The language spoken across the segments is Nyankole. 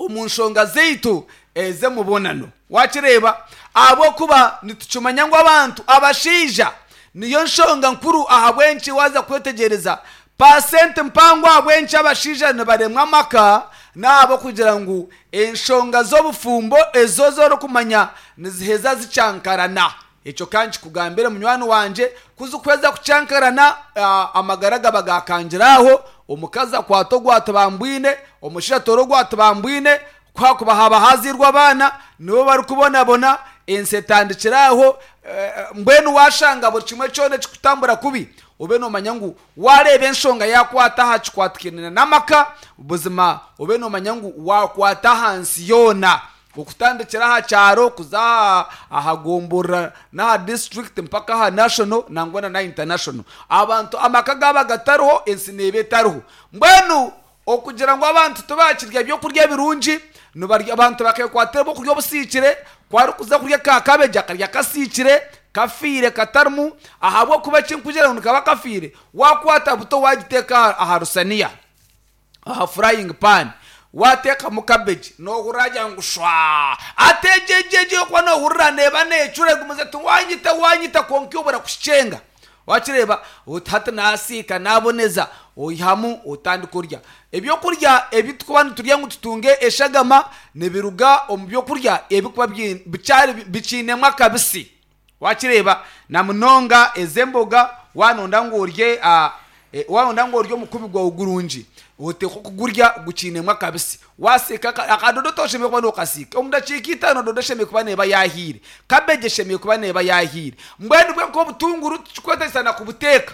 Omu nshonga zaitu ez'emubonano. Waakireeba? Ahabw'okuba nitukimanya ngu abantu, abashaija, niyo nshonga nkuru ahabw'enki waaza kwetegyereza paasenti mpango ahabw'enki abashaija nibaremwa amaka, n'ahabw'okugira ngu enshonga z'obufumbo ezo ezi orikumanya niziheza zikyankarana. Ekyo ka nkikugambire munywani wangye, ku zikuheza kukyankarana, amagara gaba gaakangire aho, omukazi akwata ogu atibambwine, omushaija atoora ogu atibambwine, ku hakuba haaba haazairwe abaana, nibo barikubonabona, ensi etandikire aho, mbwenu waashanga buri kimwe kyona ekirikutambura kubi, obe noomanya ngu waareeba enshonga yaakwata aha kikwatikaine n'amaka, buzima obe noomanya ngu waakwata aha nsi yoona. Okutandikira aha kyaro kuza aha gomborora n'aha disiturikiti mpaka aha national nangwa na international. Abantu amaka gaaba gatariho ensi neeba etariho. Mbwenu okugira ngu abantu tibakirya byokurya birungi, nibarya abantu bakekwatira ebyokurya obusiikire, ku arikuza kurya ka cabbage akarya kasiikire, kafiire katarimu ahabw'okuba eki ndikugira ngu nikaba kafiire, waakwata buto waagiteeka aha rusaniya. aha frying pan wateekamu cabbage nohurira agira ngu shwaa ati egyo egyo egyo yokuba nohurira neeba necura egumize eti wanyita wanyita kwonka iwe obura kukikyenga wakireeba oti hati nasiika naboneza oihamu otandika orya. Ebyokurya ebi turikuba niturya ngu tutunge eshagama nibiruga omu byokurya ebikuba bikyari bikiinemu akabisi. Wakireeba na munonga ez'emboga waanonda ngu orye waanonda ngu orye omukubi gwawe gurungi, oteekwa kugurya gukiinemu akabisi. Waasiika akadodo toshemereire kuba nookasiika, omu dakiika itaano dodo eshemereire kuba neeba yaahiire, kabeegi eshemereire kuba neeba yaahiire. Mbwenu bwe nk'obutunguru tikikwetaagisa na kubuteeka.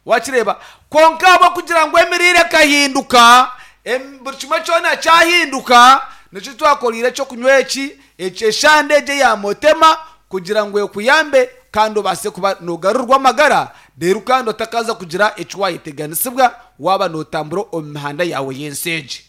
Wakireeba? Kwonka ahabw'okugira ngu emiriire ekahinduka, buri kimwe kyona kyahinduka, nikyo twakoreire eky'okunywa eki, eshande egi eya Motema, kugira ngu ekuyambe kandi obaase kuba noogarurwa amagara, reero kandi otakaaza kugira eki waayeteganisibwa waaba nootambura omu mihanda yaawe y'ensi egi.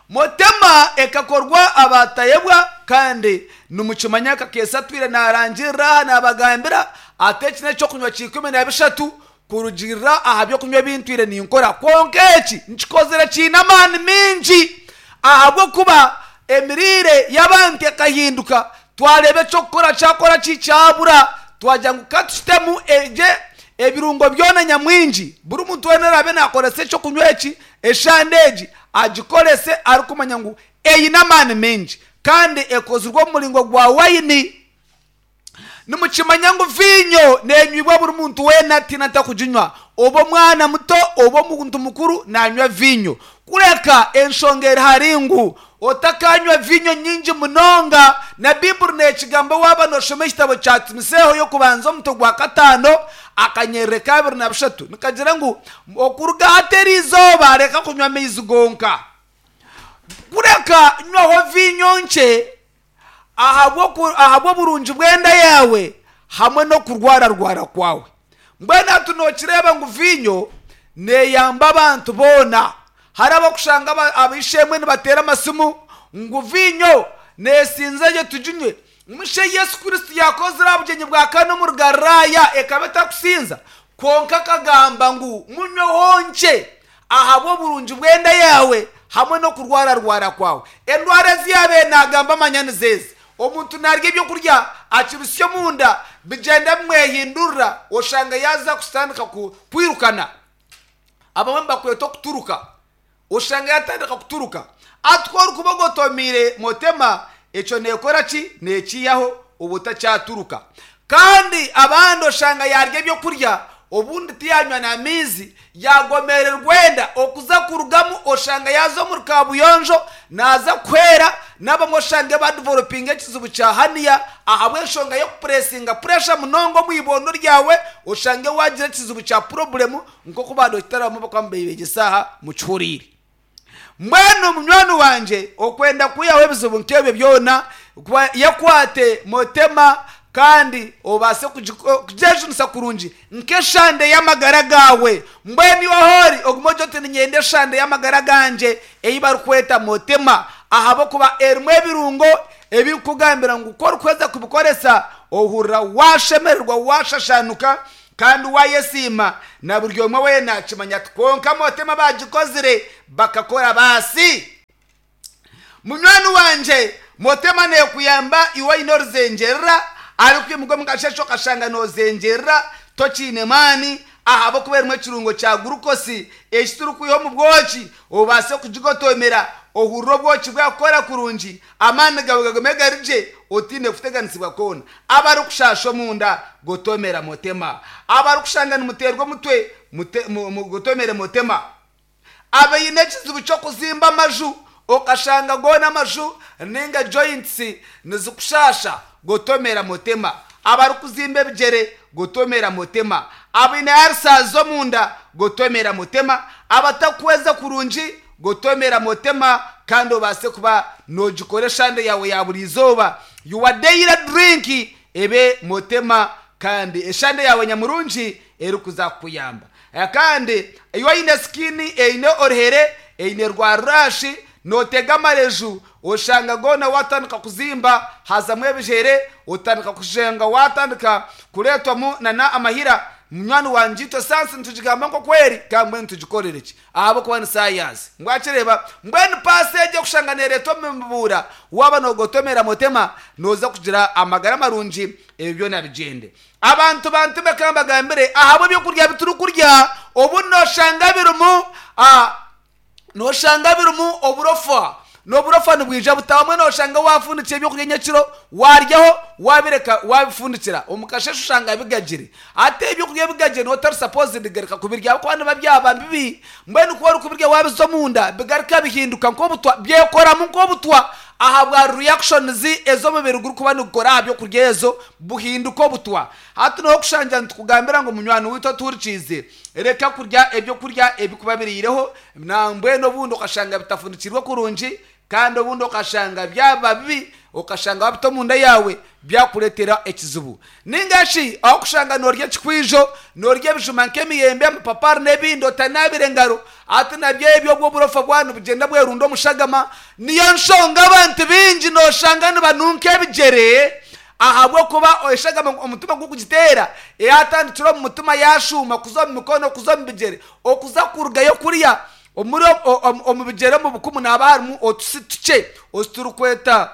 Motema ekakorwa abatayebwa kandi nimukimanya Kakeesa atwire narangirira aha nabagambira ati eki nekyokunywa kya 13 kurugirira aha byokunywa ebintwire ninkora kwonka eki nkikozire kiine amaani mingi ahabwokuba emiriire yabantu ekahinduka twareba ekyokukora kyakora ki kyabura twagira ngu katukitemu egye ebirungo byona nyamwingi buri muntu weena oraabe nakoresa ekyokunywa eki Eshande egi agikorese arikumanya ngu eine amaani maingi kandi ekozirwe omu muringo gwa waini. Nimukimanya ngu viinyo neenywibwa buri muntu weena tihaine atakuginywa, oba omwana muto oba omuntu mukuru naanywa viinyo. Kureka enshonga eri hari ngu otakanywa viinyo nyingi munonga. Na Baiburi neekigamba waaba nooshoma ekitabo kya Timoseeho y'okubanza omutwe gwa kataano akanyerere ka 23 nikagira ngu Okuruga hati eri izooba reka kunywa amaizi gonka, kureka nywaho viinyo nkye ahabw'oburungi bw'enda yaawe hamwe n'okurwararwara kwawe. Mbwenu hati nookireeba ngu viinyo neeyamba abantu boona. Hariho ab'okushanga ab'eishe-emwe nibateera amasimu ngu viinyo neesinza gye tuginywe. Musha ei Yesu Kristo yaakozire aha bugyenyi bwa Kana omuri Galilaaya ekaba etakusinza, kwonka akagamba ngu, Munyweho nkye ahabw'oburungi bw'enda yaawe hamwe n'okurwararwara kwawe. Endwara ezi yaabaire naagamba manya nizo ezi, Omuntu naarya eby'okurya akibitsya omunda, bigyenda bimwehindurira oshanga yaaza kutandika kwirukana. Abamwe nibakweta okuturuka. Oshanga yatandika kuturuka. Ati ku orikuba ogotomiire motema, ekyo neekora ki? Neekiihaho oba otakyaturuka. Kandi abandi oshanga yaarya ebyokurya obundi tiyaanywa n'amaizi, yaagomererwa enda okuza kurugamu oshanga yaaza omuri kaabuyonjo naaza kuhwera, n'abamwe oshange baadivelopinga ekizibu kya haniya ahabw'enshonga y'okupuresinga puresha munonga omu ibondo ryawe oshange waagira ekizibu kya purobulemu Nk'oku baadokitari abamwe barikuba nibeegyesa aha mukihuriire. Mbwenu munywani wangye okwenda kwihaho ebizibu nk'ebyo byona, yekwate motema kandi obaase kugyejunisa kurungi nk'eshande y'amagara gaawe. Mbwenu iwe ahu ori ogume ogire oti niinyenda eshande y'amagara gangye ei barikweta motema ahabw'okuba erimu ebirungo ebirikukugambira ngu ku orikuheza kubikoresa ohurira waashemererwa waashashaanuka Kandi waayesiima, na buri omwe weena akimanya ati, Kwonka Motema baagikozire, bakakora baasi. Munywani wangye, Motema neekuyamba iwe oine oruzengyerera, arikwimuka omu kasheeshe okashanga noozengyerera tokiine maani ahabw'okuba erimu ekirungo kya gurukosi eki turikwiha omu bwoki obaase kugigotomera ohurire obwoki bwakukora kurungi, amaani gaawe gagume gari gye otaine kuteganisibwa kwona. Abarikushaasha omunda, gotomera Motema. Abarikushanga nimuteerwa omutwe, gotomere Motema. Abaine ekizibu ky'okuzimba amaju okashanga goona amaju ninga joints nizikushaasha gotomera motema, abarikuzimba ebigyere gotomera motema, abaine ulcers z'omunda gotomera motema, abatakuhweza kurungi gotomera motema kandi obaase kuba nogikora eshande yaawe ya buri izooba your daily drink ebe motema kandi eshande yaawe nyamurungi erikuza kukuyamba. Kandi iwe oine skin eine oruhere, eine rwa rash, notega amareju oshanga goona watandika kuzimba hazamu ebijere, otandika kushanga watandika kuretwamu nana amahira, munywani wangye itwe sayansi nitugigamba nkoku eri kandi mbwenu tugikorere ki? Ahabw'okuba ni sayansi. Mbwakireeba? Mbwenu paasi egi okushanga neretwa omu mibuura, waaba nogotomera motema noza kugira amagara marungi ebyo byona bigyende. Abantu bantume ka mbagambire, ahabw'ebyokurya bi turikurya, obundi nooshanga birimu nooshanga birimu oburofa. N'oburofa nibwija buta? Obumwe nooshanga waafundikira ebyokurya nyekiro, waaryaho, waabireka waabifundikira, omu kasheeshe oshanga bigagire. Hati ebyokurya ebigagire nooba otari supposed kugaruka kubirya ahabw'okuba nibiba byaba bibi. Mbwenu ku orikubirya waabiza omunda, bigaruka bihinduka nk'obutwa, byekoramu nk'obutwa ahabwa reactions ezi omubiri gurikuba nigukora aha byokurya ezo. Buhinduka obutwa. Hati noha okushangira nitukugambira ngu munywani waitu otuhurikiize, reka kurya ebyokurya ebikuba biriireho, nambwenu obundi okashanga bitafundikirwe kurungi, kandi obundi okashanga byaba bibi, okashanga wabita omunda yaawe byakureetera ekizibu. Ninga shi ahu okushanga norya ekikwijo, norya ebijuma nk'emiyembe, amapapari n'ebindi otanaabire ngaro, hati nabyo ebyo obwo oburofa bwawe nibugyenda bwerunda omu shagama, niyo nshonga abantu baingi noshanga nibanunka ebigyere, Ahabw'okuba eshagama omutima gurikugiteera eyatandikire omu mutima yaashuuma kuza omu mikono, kuza omu bigyere, okuza kurugayo kuriya omuri omu bigyere omu bukumu nihaba harimu otusi tukye otu turikweta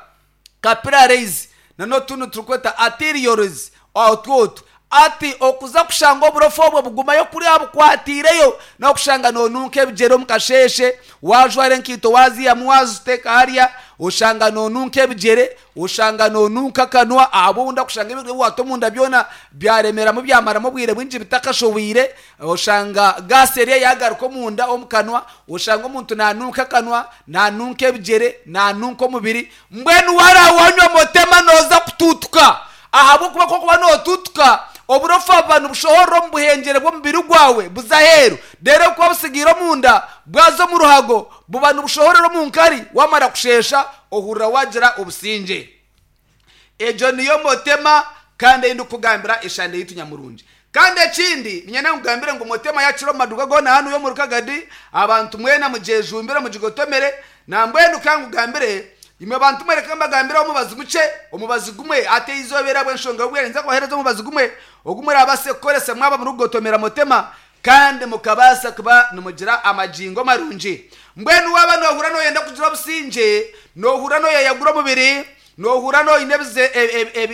capillaries n'otundi turikweta arterioles otwo otu. Ati okuza kushanga oburofa obwo bugumayo kuriya bukwatiireyo n'okushanga noonunka ebigyere omu kasheeshe, waajwara enkaito waaziihamu waaziteeka hariya, oshanga noonunka ebigyere, oshanga noonunka akanwa ahabw'obundi akushanga ebintu ebi waata omunda byona byaremeramu byamaramu obwire bwingi bitakashohwire, oshanga gaasi eriyo yaagaruka omunda omu kanwa, oshanga omuntu naanunka akanwa, naanunka ebigyere, naanunka omubiri, mbwenu waaraawanywa motema nooza kutuutuka. Ahabw'okuba ku orikuba nootuutuka, oburofa buba nibushohorera omu buhengyere bw'omubiri gwawe buza aheeru. Reero obu bukuba butsigaire omunda, bwaza omu ruhago, buba nibushohorera omu nkari, waamara kusheesha, ohurira waagira obusingye. Egyo niyo motema kandi ei ndikukugambira eshande yaitu nyamurungi. Kandi ekindi, niinyenda nkugambire ngu motema yakira omu maduuka goona hanu omuri Kagadi, abantu mwena mugyejumbire mugigotomere. Nambwenu ka nkugambire, imwe bantu mwe reka mbagambire omubazi mukye, omubazi gumwe. Hati eizooba eri ahabw'enshonga y'obwire ninza kubaheereza omubazi gumwe ogu muraabaase kukoresa mwaba murikugotomera motema kandi mukabaasa kuba nimugira amagingo marungi. Mbwenu waaba noohurira nooyenda kugira obusingye, noohurira nooyeyagura omubiri, noohurira nooyine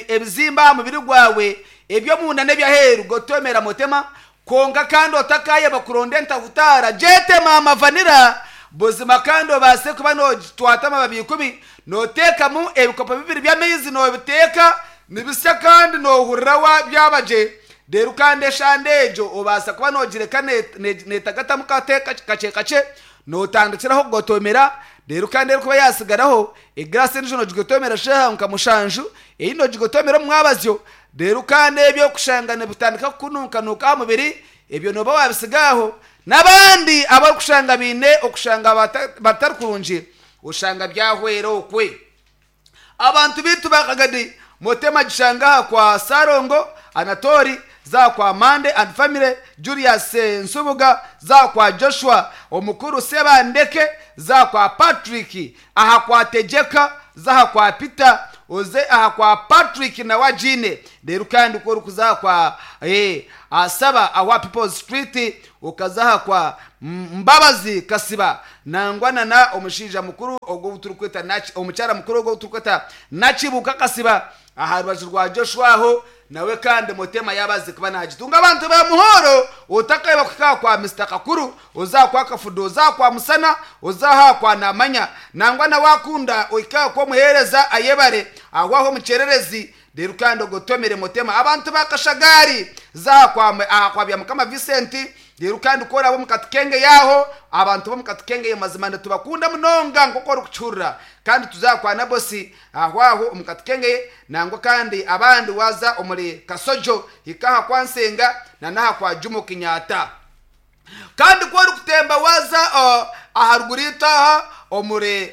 ebizimba aha mubiri gwawe, Eby'omunda n'eby'aheeru gotomera motema, kwonka kandi otakaayeba kuronda entahutaara, gyete maama vanira. Buzima kandi obaase kuba noogitwata amababi ikumi, nooteekamu ebikopo bibiri by'amaizi noobiteeka nibisya kandi noohurira byaba gye. Reero kandi eshande egyo obaasa kuba noogireka neetagatamu kakye kakye, nootandikiraho kugotomera, reero kandi erikuba yaatsigaraho, egiraasi endiijo noogigotomera eshaaha nka mushanju, eyindi noogigotomera omu mwabazyo. Reero kandi ebyo kushanga nibitandika kukununkanuuka aha mubiri, ebyo nooba waabitsiga aho. N'abandi abarikushanga baine okushanga batari kurungi, oshanga byahwera okwe. Abantu baitu ba Kagadi, Motema gishanga aha kwa Ssalongo Anatoli, za kwa Mande and family, Julius Nsubuga, za kwa Joshua Omukuru Sebandeke, za kwa Patrick, aha kwa Tegyeka, za aha kwa Peter. oze aha kwa Patrick nawe agiine. Reero kandi ku orikuza aha kwa eh, Asaba awa People's Street, okaza aha kwa Mbabazi Kasiba nangwa na na omushaija mukuru ogwo ou turikweta Naki, omukyara mukuru ogwo ou turikweta Nakibuuka Kasiba aha rubaju rwa Joshua aho nawe kandi Mutema yaaba aze kuba naagitunga. Abantu ba Muhoro otakaiba kuhika aha kwa Mister Kakuru, oze aha kwa Kafudo, oze aha kwa Musana, oze aha kwa Namanya nangwa na waakunda ohike aha kw'omuheereza Ayebare aho aho omu Kyererezi Reero kandi ogotomere Mutema abantu ba Kashagari, za aha kwa aha kwa Byamukama Vincent, reero kandi ku oraabe omu Katukenge yaaho, abantu b'omu Katukenge mazima nitubakunda munonga nk'oku orikukihurira. Kandi tuze aha kwa Nabosi aho aho omu Katukenge, nangwa kandi abandi waaza omuri Kasojo, hika aha kwa Nsenga na n'aha kwa Jumo Kenyatta. Kandi ku orikutemba waaza aharuguru itwe aha omuri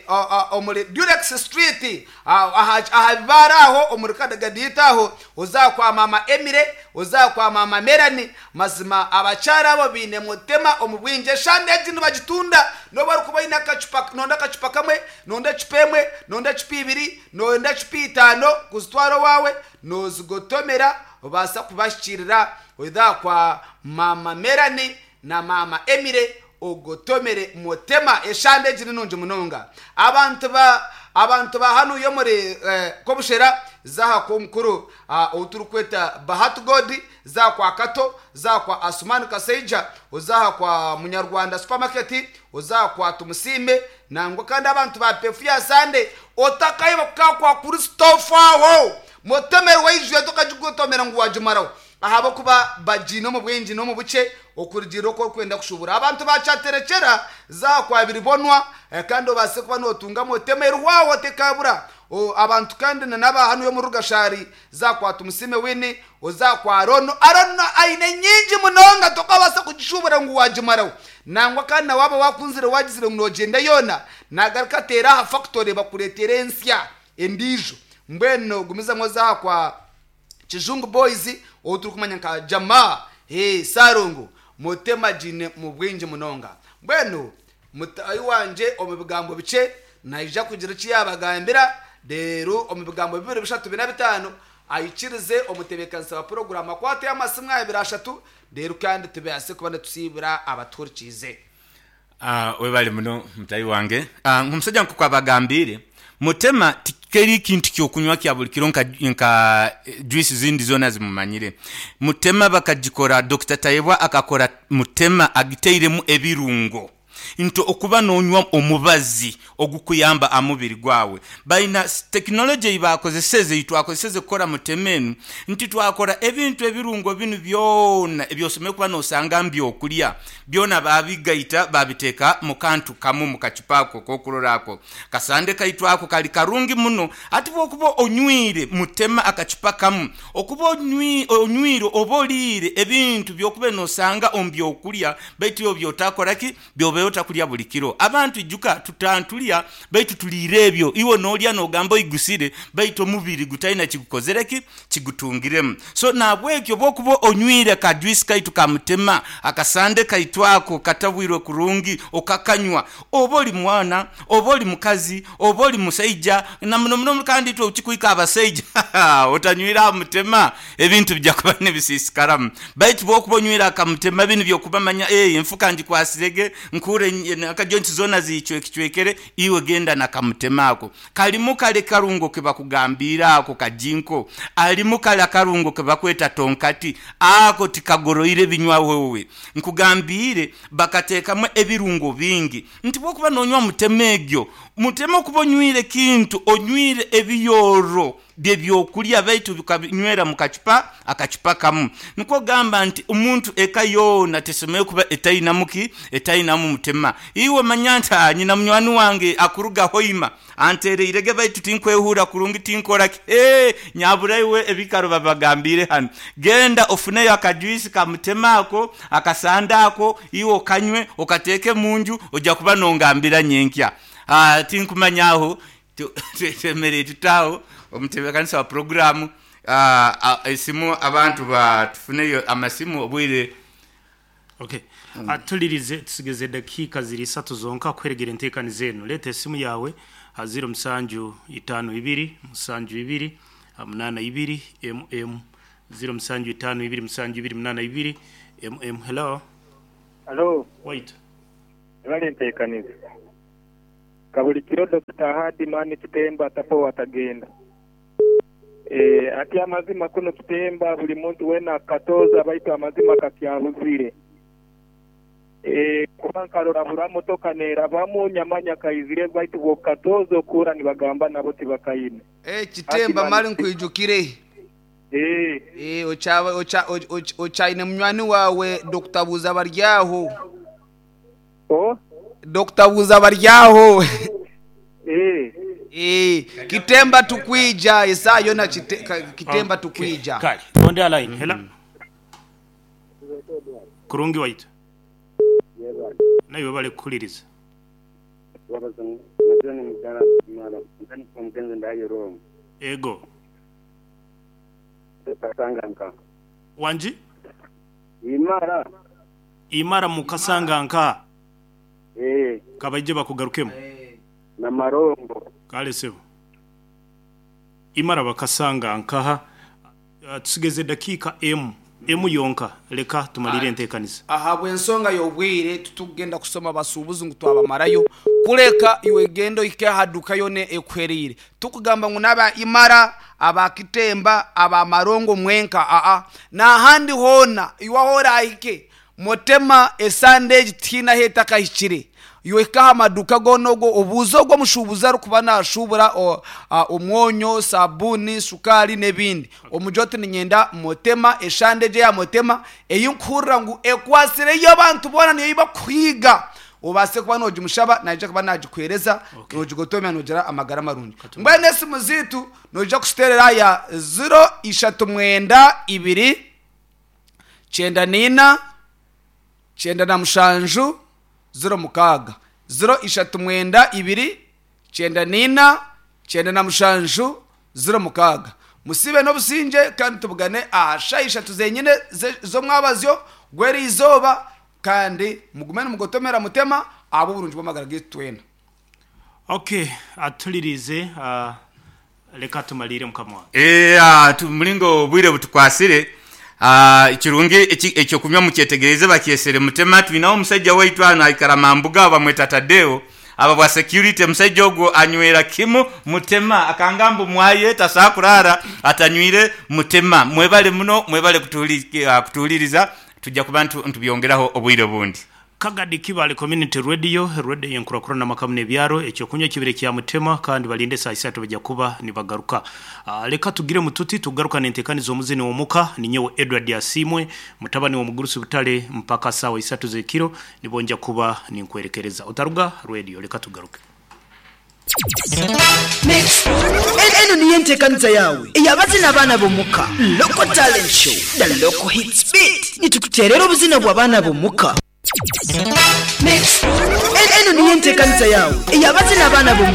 omuri Durex Street aha aha bibaare aho omuri Kadagadi itwe aho oze aha kwa maama Emily, oze aha kwa maama Melanie, mazima abakyara abo baine mutema omu bwingi. Eshande egi nibagitunda n'obu orikuba oine akacupa noyenda akacupa kamwe, noyenda ecupa emwe, noyenda ecupa ibiri, noyenda ecupa itaano kuzitwara owaawe noozigotomera obaasa kubahikiirira Oidha aha kwa maama Melanie na maama Emily ogotomere mutema. Eshande egi ni nungi munonga. Abantu ba abantu ba hanuya omuri Kobushera, za aha kw'omukuru ou turikweta Bahati God, za aha kwa Kato, za aha kwa Asuman Kasaija, oze aha kwa Munyarwanda Supermarket, oze aha kwa Tumusiime, nangwa kandi abantu ba Pefu ya Sande, otakaiba kuka aha kwa Christopher aho! Mutemere waijwire tokagigotomera ngu wagimaraho. Ahabw'okuba bagiine omu bwingi n'omu bukye, okurugiirira oku orikwenda kushuubura. Abantu baakyaterekyera, za aha kwa biribonwa, kandi obaase kuba nootungamu otema erihwaho tekaabura. Abantu kandi na n'aba hanu y'omuri Rugashari, za aha kwa Tumusiime Winnie, oze aha kwa Arono. Arono aine nyingi munonga tokabaasa kugishuubura ngu waagimaraho. Nangwa kandi na waaba waakunzire waagizire ngu noogyenda yoona, naagaruka ateere aha fakitore bakureetere ensya endiijo. Mbwenu gumizamu oze aha kwa. Kizungu Boys ou turikumanya nka Jamaa hee Ssalongo Mutema agiine mu bwingi munonga. Mbwenu mutaahi wangye omu bigambo bikye naija kugira eki yaabagambira reero omu bigambo bibiri bishatu bina bitaano aikirize omutebeekanisa wa puroguraamu akwateyo amasimu abiri ashatu reero kandi tubaase kuba nitusiibura abatuhurikiize. Webale muno mutahi wange. Omusaija nkoku abagambiire, mutema tikeri kintu kyokunywa kya buli kiro nka juice zindi zona zimumanyire. Mutema bakagikora, Dokita Tayebwa akakora mutema agiteiremu ebirungo nti okuba nonywa omubazi ogukuyamba aha mubiri gwawe. Baina tekinologye ei baakozeseze, ei twakozeseze kukora mutema enu, nti twakora ebintu ebirungo binu byona eby'osemeriire kuba nosanga mu byokulya, Byona baabigaita baabiteeka mu kantu kamu mu kacupa ako k'okurora ako. Kasande kaitu ako kali karungi muno. Ati bw'okuba onywire mutema akacupa kamu, okuba onywire oba oliire ebintu by'okuba n'osanga omu by'okulya baitu iwe by'otakora ki? By'obaire otakulya buli kiro. Abantu ijuka tutantulya baitu tuliire ebyo. Iwe n'olya n'ogamba oigusire baitu omubiri gutaina kigukozire ki? Kigutungiremu. So nahabwekyo bwokuba onywire ka juice kaitu ka mutema, akasande kaitu ako katabwirwe kurungi okakanywa, oba oli mwana, oba oli mukazi, oba oli musaija, na muno muno kandi itwe okikuhika abasaija otanywire aha mutema ebintu bija kuba nibisiisikaramu. Baitu bwokuba onywire aka mutema binu byokuba manya eeh enfuka ngikwasire ge, nkuure akajoints zona ziicwekicwekere, iwe genda na kamutema ako. Kalimu kale karungo ke bakugambiire ako kajinko, alimu kale akarungo ke bakweta tonkati, ako tikagoroire binywa wewe. Nkugambiire bakateekamu ebirungo bingi nti bw'okuba n'onywa mutema egyo, mutema okuba onywire kintu, onywire ebiyooro by'ebyokulya baitu bikabinywera mu kacupa akacupa kamu. Nikwo gamba nti omuntu eka yoona tesemereire kuba etainamu ki? Etainamu mutema. Iwe manya nti, Aa, nyina munywani wange akuruga Hoima anteereire ge baitu tinkwehuura kurungi, tinkora ki? Hee, nyabura iwe ebikaro babibagambiire hanu. Genda ofuneyo akajuisi ka mutema ako, akasande ako, iwe okanywe, okateeke mu nju, oja kuba nongambira nyenkya. Aa, tinkumanya agho Twemereire tuta agho omutebekanisa wa pulogulaamu esimu abantu tufuneyo amasimu obwire. Ok. Tulirize tusigeze edakiika ziri isatu zonka kuheregera enteekaniza eno. Leeta esimu yaawe. Ha 0752 72 82 mm 0752 72 82 mm Hello. Halo, Wait. Webale ntekaniza. Kabuli kiro Dokita Hadi man Kitemba tapowa tagenda. Eeh ati amazima kuno Kitemba buli muntu wena akatooza baitu amazima kakyabuzire. Eeh kuba nkarora bura motoka nerabamu nyamanya kaizire baitu bwokatooza okuura nibagamba nabo tibakaine. Eh, Ati Kitemba man mali nkwijukire. Eeh. Eh, okyaine munywani wawe Dokita Buuza Baryaho. Oh? Dokita Buuza Baryaho. Eeh. Eh, Kitemba tukwija esaa yona Kitemba Okay. tukwija. Kale. Ondi ha line. Hello. Kurungi waitu. Naiwe webale kuhuliriza. Ego. Wangi? Imara mu Kasanganka. Kabaije bakugarukemu. Kale sebo. Imara bakasangankaha. Tusigeze dakiika emu. Emu yonka. Leka tumalire enteekaniza. Ahabw'ensonga y'obwire titugenda kusoma basuubuzi ngu twabamarayo kureka iwe genda ohike aha duka yona ekuhereire tikugamba ngu n'aba Imara aba Kitemba aba Marongo mwenka aa n'ahandi hoona iwe ahu orahike Mutema esande egi tihaine ahu etakahikire. Iwe hika aha maduuka goona ogo obuuze ogwo omushuubuzi arikuba naashuubura omwonyo, saabuuni, shukaari n'ebindi. Omugire oti niinyenda Mutema, eshande egi eya Mutema ei nkuhurira ngu ekwatsireyo abantu boona niyo ei barikuhiga. Obaase kuba noogimushaba naija kuba naagikuheereza noogigotomera noogira amagara marungi. Mbwenu esimu zaitu noija kuziteerera aha ya ziro ishatu mwenda ibiri, kyenda naina, 97 06. 0 3 9 2 94 97 06. Musiibe n'obusingye kandi tubugane aha shaaha ishatu zenyine z'omwabazyo gw'eriizooba kandi mugume nimugotomera Mutema ahabw'oburungi bw'amagara gaitu twena. Ok, atuliriize leka tumaliire mukama wange. Eeh muringo obwire butukwasire, kirungi ekyokunywa mukyetegereze bakyesere Mutema. Twinaho omusaija waitu ghano aikara Mambuga agho bamweta Tadeo aba bwa security. Omusaija ogwo anywera kimu Mutema akanga mbu mwaye tasobola kulaala atanywire Mutema. Mwebale muno mwebale kutuwuliriza tuja kuba nitubyongeraho obwire obundi. Kagadi Kibaale Community Radio, Radio y'enkurakurana amaka n'ebyaro, eky'okunywa kibire kya Mutema kandi balinde esaaha isatu baja kuba nibagaruka. Leka tugiremu tuti tugaruka n'enteekaniza omuzini w'omuka. Ninyowe Edward Asiimwe, mutabani w'omugurusi Butale mpaka saawa isatu z'ekiro nibwo nja kuba ninkwerekereza. Otaruga Radio, leka tugaruke. Eno niyo enteekaniza yaawe ey'abazina abaana b'omuka, Local Talent Show, The Local Hits Beat. Nitukuteerera obuzina bw'abaana b'omuka. Eno niyo enteekaniza yaawe ey'abazina abaana b'omuka.